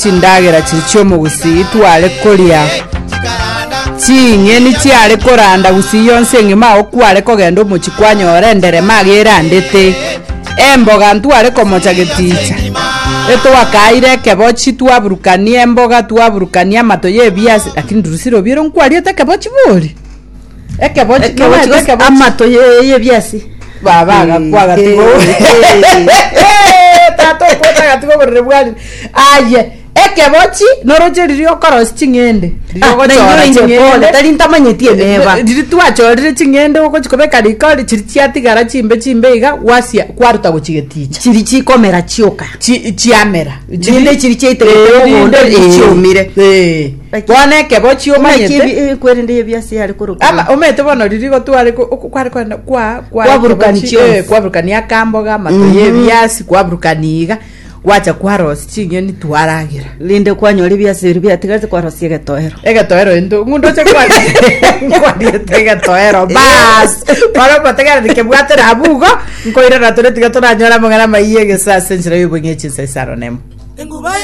Chindagera chiria chi'omogusii tware koria, ching'eni chiare koranda gusii yonsi engima agwo kware kogenda omochie kwanyora enderema iga erandete, emboga ntware komocha geticha, etwakaire ekebochi twaburukania emboga twaburukania amato ya ebiasi, lakini Drusilla obiere nkwariete ekebochi bori? Ekebochi Ekebochi nomanyete gose ekebochi? amato ye- y'ebiasi. Baba agakwa agatiga tata okwete agatiga oborere bwarire aye ekebochi noroche riria okorosia ching'ende riria Ah, ogochora nainwe inche pole, ching'ende tari ntamanyeti emeba. riria twachorire ching'ende ogochi kobeka riko chiri chiatigara chimbe chimbe iga gwasia kwaruta gochi geticha Chiri chikomera chioka. Chi- chiamera Chinde chiri chiaitegerete Eh, mogondo, rinde eh, chiomire. Eh. Bono ekebochi Omanyete omanyete kwerende ebiasi yare korokwa. Ama omanyete bono riria igo tware ko- oko- kware kogenda kwa kwa Kwaburukani ekebochi, chionsi. eh, kwaburukania akamboga amato ya ebiasi kwaburukani iga gwacha kwarosia ching'eni twaragera Rinde kwanyora ebiasi biria biatigarete kwarosia egetoero. egetoero into ng'undoche kwariete egetoero bas bono omotegereri kebwatera abwo igo nkoirana tore tiga toranyore amang'ana amaiya egesa ase enchera ya obong'e chinsa isano nemo.